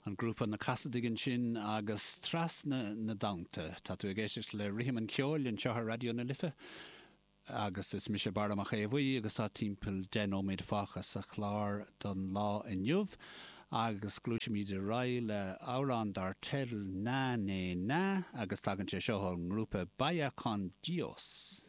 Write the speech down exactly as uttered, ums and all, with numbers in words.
An grúpa Na Casaidigh ansin agus Trasna na dTonnta. Tá tú ag éisteacht le Rithim an Cheoil anseo ar Raidió na Life agus is mise Barra Mac Aodha Bhuí agus tá timpeall deich nóiméad fágtha sa chlár don lá inniu agus gluaisimid ar aghaidh le amhrán dar teideal Na Né Na agus tagann sé seo ón ngrúpa Vaya con Dios.